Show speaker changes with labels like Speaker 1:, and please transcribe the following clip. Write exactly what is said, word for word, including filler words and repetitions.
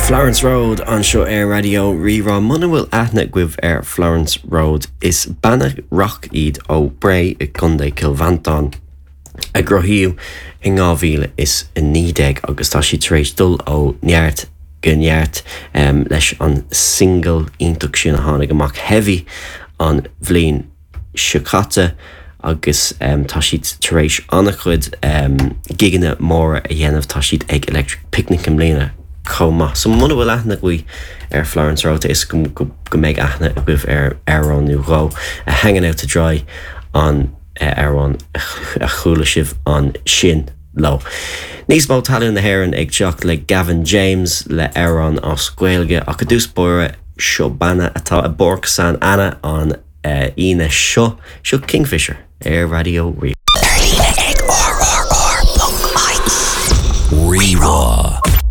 Speaker 1: Florence Road anseo ar Raidió Rí-Rá muna bhfuil aithne agaibh ar Florence Road is banna rock iad ó Bré i gContae Chill Mhantáin a cruthaíodh in dhá mhíle is a naoi déag agus tá siad tar éis dul ó neart go neart um, leis an single iontach sin a tháinig amach Heavy an bhliain seo caite agus um, tá siad tar éis an-chuid um, gigeanna móra a dhéanamh tá siad ag Electric Picnic i mbliana chomh maith. So muna bhfuil aithne agaibh ar Florence Road is go, go, go mbeidh aithne agaibh ar amhrán nó dhó a Hanging Out to Dry an uh, amhrán a chuala sibh ansin leo. Níos mó talún na hÉireann ag teacht le Gavin James le amhrán as Gaeilge ach i dtús báire seo banna atá i bPáirc San Anna an uh, Aoine seo seo Kingfisher ar Raidió Rí.
Speaker 2: Ar líne ag rrr.ie.
Speaker 3: Rí-Rá.